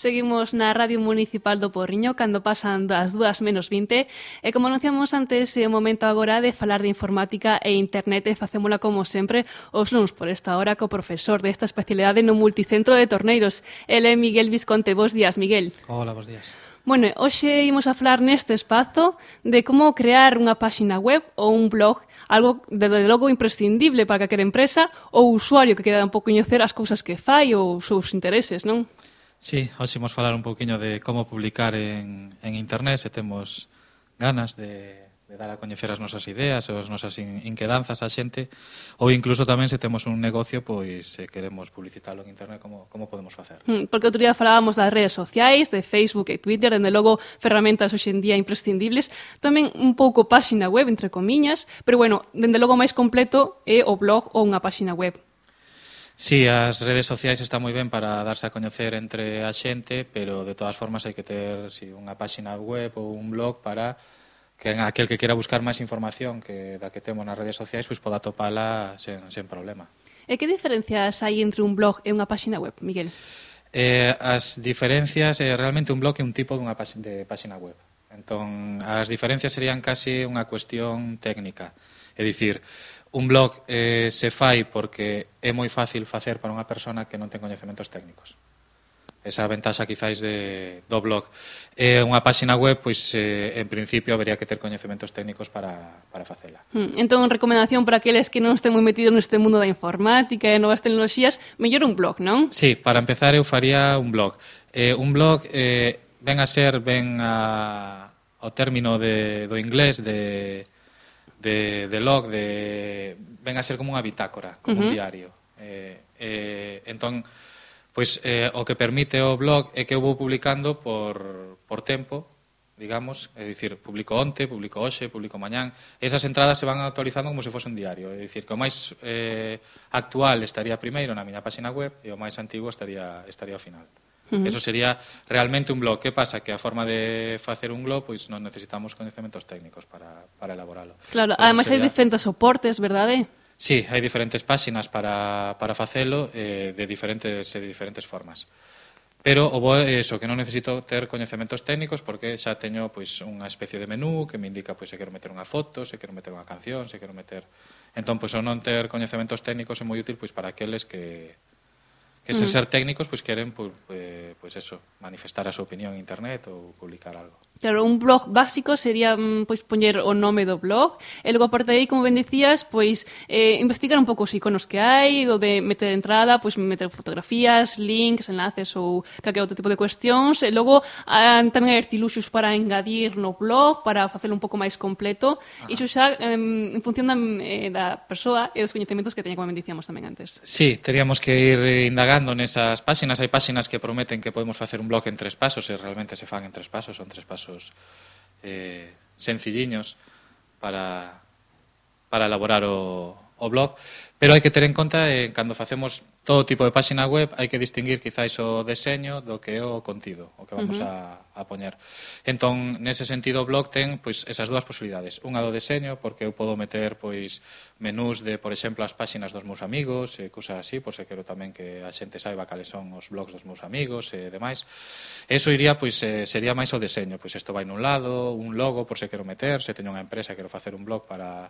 Seguimos na Radio Municipal do Porriño cando pasan das 2:20 e como anunciamos antes é o momento agora de falar de informática e internet e facémola como sempre os luns por esta hora co profesor desta especialidade no Multicentro de Torneiros. Ele é Miguel Visconte. Bos días, Miguel. Hola, bos días. Bueno, hoxe imos a falar neste espazo de como crear unha páxina web ou un blog, algo de logo imprescindible para calquera empresa ou usuario que queda un pouco coñecer as cousas que fai ou os seus intereses, non? Sí, hoxe imos falar un pouquiño de como publicar en internet, se temos ganas de dar a coñecer as nosas ideas, as nosas inquedanzas á xente, ou incluso tamén se temos un negocio, pois se queremos publicitalo en internet, como podemos facer? Porque outro día falábamos das redes sociais, de Facebook e Twitter, dende logo ferramentas hoxe en día imprescindibles, tamén un pouco páxina web, entre comiñas, pero bueno, dende logo máis completo é o blog ou unha páxina web. Sí, as redes sociais están moi ben para darse a coñecer entre a xente, pero de todas formas hai que ter unha páxina web ou un blog para que aquel que quera buscar máis información que da que temos nas redes sociais pois poda atopala sen problema. E que diferencias hai entre un blog e unha páxina web, Miguel? As diferencias, realmente un blog é un tipo dunha páxina web. Entón, as diferencias serían casi unha cuestión técnica. É dicir, un blog se fai porque é moi fácil facer para unha persona que non ten coñecementos técnicos. Esa ventaxa quizáis do blog. Unha páxina web, pois en principio habería que ter coñecementos técnicos para facela. Entón, recomendación para aqueles que non estén moi metidos neste mundo da informática e novas tecnoloxías, mellor un blog, non? Sí, para empezar eu faría un blog. Un blog ven ao término do inglés de log, ven a ser como unha bitácora, como un diario. Entón, pois o que permite o blog é que eu vou publicando por tempo, digamos, é dicir, publico onte, publico hoxe, publico mañán. Esas entradas se van actualizando como se fose un diario, é dicir, que o máis actual estaría primeiro na miña páxina web e o máis antigo estaría ao final. Eso sería realmente un blog. Que pasa? Que a forma de facer un blog pois non necesitamos coñecementos técnicos para elaboralo. Claro, ademais hai diferentes soportes, verdade? Sí, hai diferentes páxinas para facelo de diferentes formas. Pero o bo é iso, que non necesito ter coñecementos técnicos porque xa teño pois unha especie de menú que me indica pois se quero meter unha foto, se quero meter unha canción, se quero meter... Entón, pois o non ter coñecementos técnicos é moi útil pois para aqueles que sen ser técnicos pois queren pois eso, manifestar a súa opinión en internet ou publicar algo. Claro, un blog básico sería pois poñer o nome do blog e logo aparte de aí, como ben dicías, pois investigar un pouco os iconos que hai, do de meter entrada, pois meter fotografías, links, enlaces ou calquer outro tipo de cuestións e logo tamén hai artiluxos para engadir no blog, para facelo un pouco máis completo. Iso xa en función da persoa e dos coñecementos que teña, como ben dicíamos tamén antes. Sí, teríamos que ir indagando nesas páxinas. Hai páxinas que prometen que podemos facer un blog en 3 pasos e realmente se fan en 3 pasos, son 3 pasos sencilliños para elaborar o blog, pero hai que ter en conta cando facemos todo tipo de páxina web hai que distinguir quizáis o deseño do que é o contido, o que vamos a poñer. Entón, nese sentido o blog ten pois esas dúas posibilidades, unha do deseño, porque eu podo meter pois menús de, por exemplo, as páxinas dos meus amigos, cousas así, por se quero tamén que a xente saiba cales son os blogs dos meus amigos e demais. Eso iría, pois, sería máis o deseño, pois isto vai nun lado, un logo, por se quero meter, se teño unha empresa, quero facer un blog para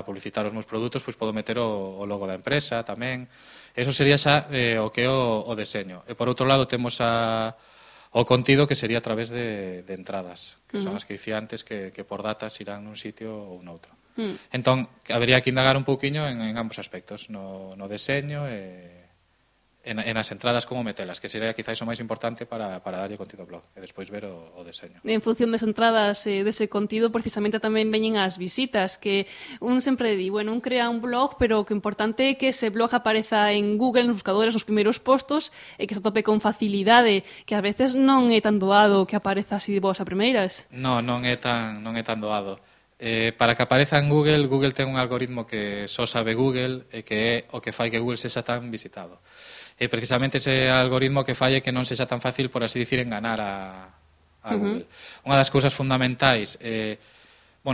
publicitar os meus produtos, pois podo meter o logo da empresa tamén. Eso sería xa o que é o deseño. E por outro lado temos o contido, que sería a través de entradas, que son as que dicía antes que por datas irán nun sitio ou noutro. Entón, habería que indagar un pouquiño en ambos aspectos, no deseño e en as entradas como metelas, que sería quizás o máis importante para darlle contido ao blog e despois ver o deseño. En función das entradas dese contido, precisamente tamén veñen as visitas, que un sempre di, bueno, un crea un blog, pero o que importante é que ese blog apareza en Google, nos buscadores, nos primeiros postos, e que se tope con facilidade, que a veces non é tan doado que apareza así de boas a primeiras. Non é tan doado. Para que apareza en Google, Google ten un algoritmo que só sabe Google e que é o que fai que Google sexa tan visitado. E precisamente ese algoritmo que fai é que non sexa tan fácil, por así dicir, enganar a Google. Unha das cousas fundamentais é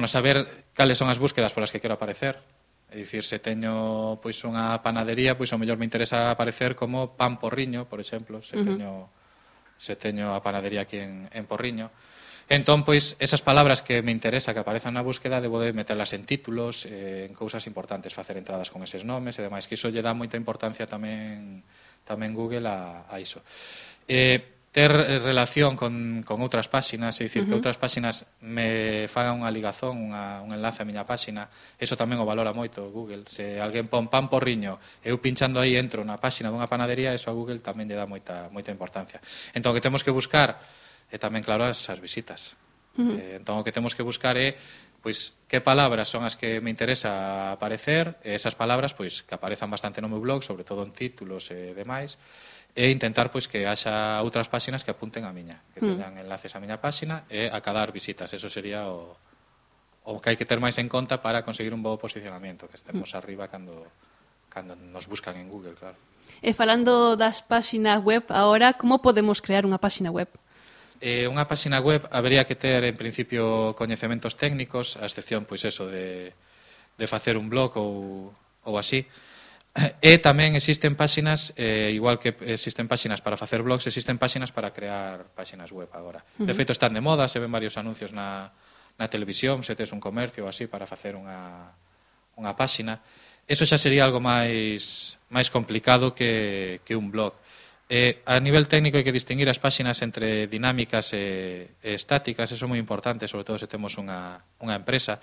saber cales son as búsquedas polas que quero aparecer. É dicir, se teño pois unha panadería, pois ao mellor me interesa aparecer como pan porriño, por exemplo, se teño se teño a panadería aquí en Porriño. Entón, pois, esas palabras que me interesa que aparezan na búsqueda, debo de meterlas en títulos, en cousas importantes, facer entradas con eses nomes e demais, que iso lle dá moita importancia tamén Google a iso. Ter relación con outras páxinas, é dicir, que outras páxinas me fagan unha ligazón, un enlace a miña páxina, eso tamén o valora moito Google. Se alguén pon pan Porriño, eu pinchando aí entro na páxina dunha panadería, eso a Google tamén lle dá moita importancia. Entón, o que temos que buscar e tamén, claro, as visitas. Entón, o que temos que buscar é pois que palabras son as que me interesa aparecer, e esas palabras pois que aparezan bastante no meu blog, sobre todo en títulos e demais, e intentar pois que haxa outras páxinas que apunten a miña, que teñan enlaces a miña páxina e a cadar visitas. Eso sería o que hai que ter máis en conta para conseguir un bo posicionamento, que estemos arriba cando nos buscan en Google, claro. E falando das páxinas web, agora, como podemos crear unha páxina web? Unha páxina web habería que ter, en principio, coñecementos técnicos, a excepción, pois, eso, de facer un blog ou así. E tamén existen páxinas, igual que existen páxinas para facer blogs, existen páxinas para crear páxinas web agora. De feito, están de moda, se ven varios anuncios na televisión, se tes un comercio ou así para facer unha páxina. Eso xa sería algo máis complicado que un blog. A nivel técnico hai que distinguir as páxinas entre dinámicas e estáticas, eso é moi importante, sobre todo se temos unha empresa.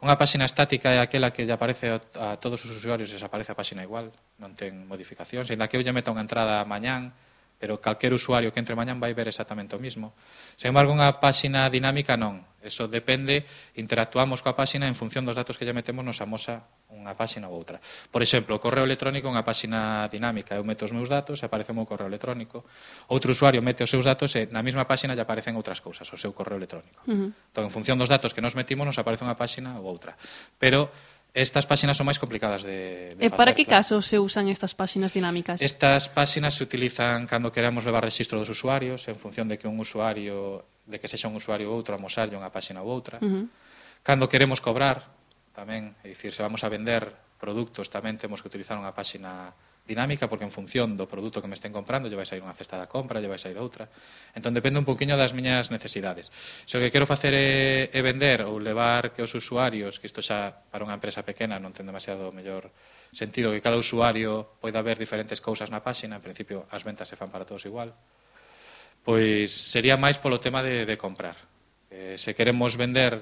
Unha páxina estática é aquela que lle aparece a todos os usuarios e se aparece a páxina igual, non ten modificacións, ainda que eu lle meta unha entrada mañán, pero calquer usuario que entre mañán vai ver exactamente o mismo. Sen embargo, unha páxina dinámica non. Eso depende, interactuamos coa páxina en función dos datos que lle metemos, nos amosa unha páxina ou outra. Por exemplo, o correo electrónico é unha páxina dinámica. Eu meto os meus datos e aparece o meu correo electrónico. Outro usuario mete os seus datos e na mesma páxina lle aparecen outras cousas, o seu correo electrónico. Entón, en función dos datos que nos metimos, nos aparece unha páxina ou outra. Pero estas páxinas son máis complicadas de facer. E para que casos se usan estas páxinas dinámicas? Estas páxinas se utilizan cando queremos levar registro dos usuarios, en función de que que sexa un usuario ou outro, amosarlle unha páxina ou outra. Cando queremos cobrar, tamén, é dicir, se vamos a vender produtos, tamén temos que utilizar unha páxina dinámica, porque en función do produto que me estén comprando lle vai sair unha cesta da compra, lle vai sair outra. Entón, depende un poquinho das miñas necesidades. Se o que quero facer é vender ou levar que os usuarios, que isto xa para unha empresa pequena non ten demasiado mellor sentido, que cada usuario poida ver diferentes cousas na páxina, en principio as ventas se fan para todos igual, pois sería máis polo tema de comprar. Se queremos vender,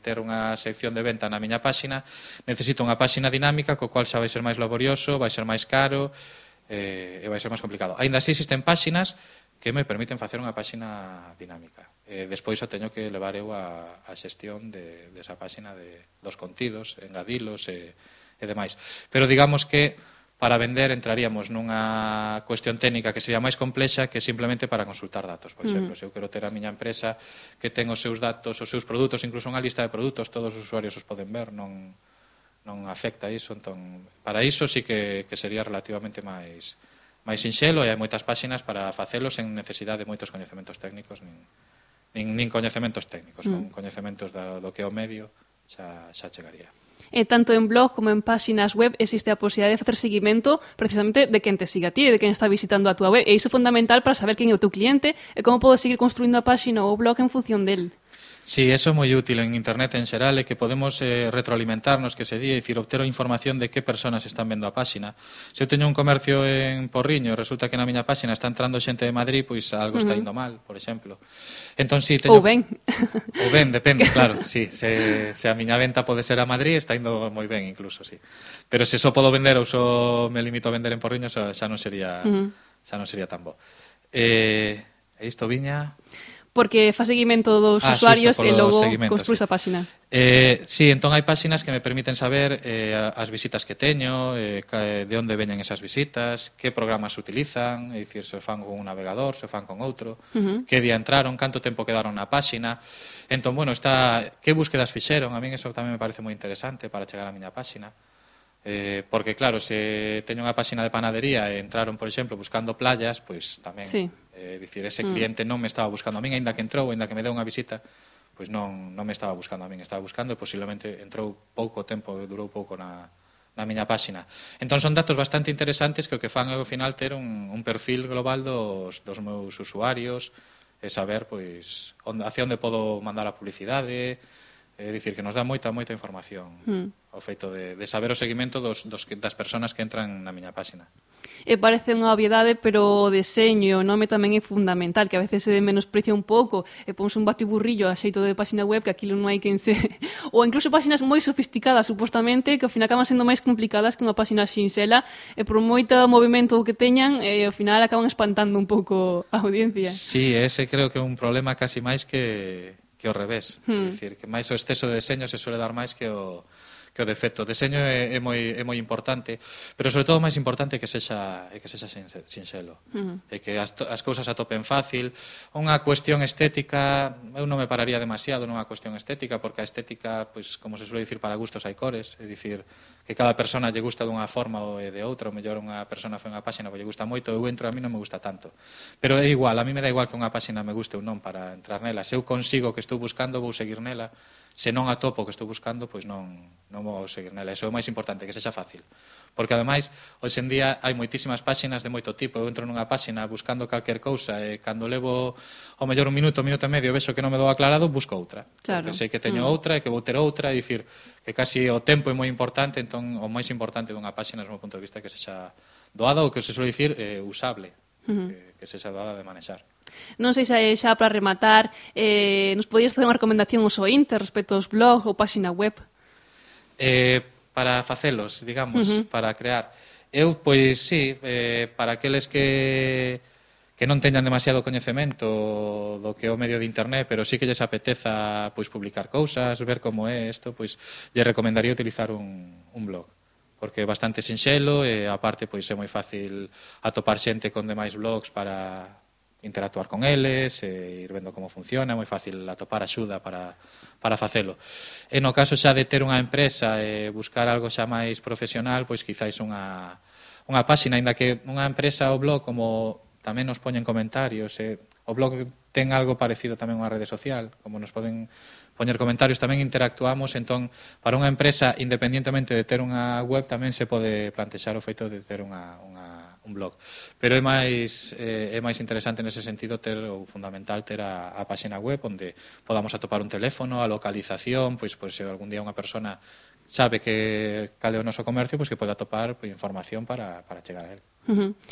ter unha sección de venta na miña páxina, necesito unha páxina dinámica, co cual xa vai ser máis laborioso, vai ser máis caro e vai ser máis complicado. Aínda así existen páxinas que me permiten facer unha páxina dinámica. Despois o teño que levar eu a xestión desa páxina dos contidos, engadilos e demais. Pero digamos que para vender entraríamos nunha cuestión técnica que sería máis complexa que simplemente para consultar datos. Por exemplo, se eu quero ter a miña empresa que ten os seus datos, os seus produtos, incluso unha lista de produtos, todos os usuarios os poden ver, non afecta iso. Entón, para iso sí que sería relativamente máis sinxelo, e hai moitas páxinas para facelo sen necesidade de moitos coñecementos técnicos, nin coñecementos técnicos, con coñecementos do que é o medio xa chegaría. Tanto en blog como en páxinas web existe a posibilidade de facer seguimento precisamente de quen te siga a ti, de quen está visitando a túa web, e iso é fundamental para saber quen é o teu cliente e como podes seguir construindo a páxina ou o blog en función del. Sí, eso é moi útil en internet en xeral, e que podemos retroalimentarnos, que se di, é dicir, obter a información de que persoas están vendo a páxina. Se eu teño un comercio en Porriño e resulta que na miña páxina está entrando xente de Madrid, pois algo está indo mal, por exemplo. Entón, si teño... Ou ben. Ou ben, depende, claro, sí. Se a miña venta pode ser a Madrid, está indo moi ben incluso, sí. Pero se só podo vender ou só me limito a vender en Porriño, xa non sería tan bo. E isto viña... Porque fa seguimento dos usuarios e logo construís a páxina. Sí, entón hai páxinas que me permiten saber as visitas que teño, de onde veñen esas visitas, que programas se utilizan, é dicir, se fan con un navegador, se fan con outro, que día entraron, canto tempo quedaron na páxina. Entón, bueno, que búsquedas fixeron, a min eso tamén me parece moi interesante para chegar á miña páxina. Porque claro, se teño unha páxina de panadería e entraron, por exemplo, buscando playas, pois tamén, dicir, ese cliente non me estaba buscando a min, aínda que entrou, aínda que me deu unha visita, pois non me estaba buscando a min, estaba buscando e posiblemente entrou pouco tempo, durou pouco na na miña páxina. Entón son datos bastante interesantes que o que fan é ao final ter un perfil global dos meus usuarios e saber pois hacia onde podo mandar a publicidade, é dicir que nos dá moita información ao feito de saber o seguimento das persoas que entran na miña páxina. Parece unha obviedade, pero o deseño e o nome tamén é fundamental, que a veces se menosprecia un pouco e ponse un batiburrillo a xeito de páxina web que aquilo non hai quen se... ou incluso páxinas moi sofisticadas, supostamente, que ao final acaban sendo máis complicadas que unha páxina sinxela e por moito movimento que teñan, ao final acaban espantando un pouco a audiencia. Sí, ese creo que é un problema casi máis que o revés. É dicir, que máis o exceso de deseño se suele dar máis que o defecto. O deseño é moi importante, pero sobre todo o máis importante é que sexa sinxelo, e que as cousas atopen fácil. Unha cuestión estética, eu non me pararía demasiado nunha cuestión estética, porque a estética, pois, como se suele dicir, para gustos hai cores, é dicir, que cada persona lle gusta dunha forma ou de outra, ou mellor unha persona foi unha páxina que lle gusta moito, eu entro, a mí non me gusta tanto. Pero é igual, a mí me dá igual que unha páxina me guste ou non para entrar nela. Se eu consigo que estou buscando, vou seguir nela. Se non atopo o que estou buscando, pois non vou seguir nela. Iso é o máis importante, que sexa fácil. Porque, ademais, hoxe en día hai moitísimas páxinas de moito tipo. Eu entro nunha páxina buscando calquer cousa e cando levo ao mellor un minuto e medio vexo que non me dou aclarado, busco outra. Claro. Porque sei que teño outra e que vou ter outra, é dicir, que casi o tempo é moi importante, entón o máis importante dunha páxina, desde o meu punto de vista, é que sexa doada ou que se suele dicir usable, que sexa doada de manexar. Non sei se xa para rematar nos podías facer unha recomendación aos ointes respecto aos blogs ou páxina web? Para facelos, digamos, para crear. Eu, pois, sí, para aqueles que non teñan demasiado coñecemento do que é o medio de internet, pero sí que lles apeteza pois publicar cousas, ver como é isto, pois lles recomendaría utilizar un blog, porque é bastante sinxelo e aparte pois é moi fácil atopar xente con demais blogs para interactuar con eles, ir vendo como funciona, é moi fácil atopar axuda para facelo. E no caso xa de ter unha empresa e buscar algo xa máis profesional, pois quizáis unha páxina, aínda que unha empresa ou blog, como tamén nos poñen comentarios, o blog ten algo parecido tamén a unha rede social, como nos poden poñer comentarios, tamén interactuamos, entón, para unha empresa, independientemente de ter unha web, tamén se pode plantexar o feito de ter un blog. Pero é máis interesante nese sentido ter, ou fundamental, ter a páxina web onde podamos atopar un teléfono, a localización, pois se algún día unha persona sabe que cal é o noso comercio, pois que pode atopar información para chegar a él.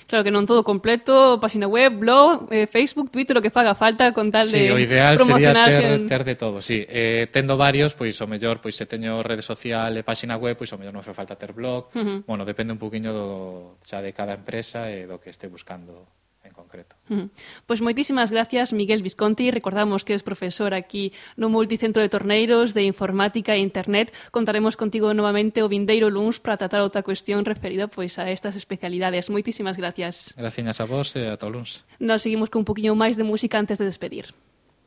Claro que non todo completo, páxina web, blog, Facebook, Twitter, o que faga falta con tal de promocionarse. Sí, o ideal sería ter de todo, sí. Tendo varios, pois o mellor, pois se teño rede social e páxina web, pois o mellor non fai falta ter blog. Bueno, depende un poquinho xa de cada empresa e do que este buscando en concreto. Pois moitísimas gracias, Miguel Visconti. Recordamos que és profesor aquí no Multicentro de Torneiros de Informática e Internet. Contaremos contigo novamente o vindeiro luns para tratar outra cuestión referida pois a estas especialidades. Moitísimas gracias. Gracias a vos e ata o luns. Nos seguimos con un poquinho máis de música antes de despedir.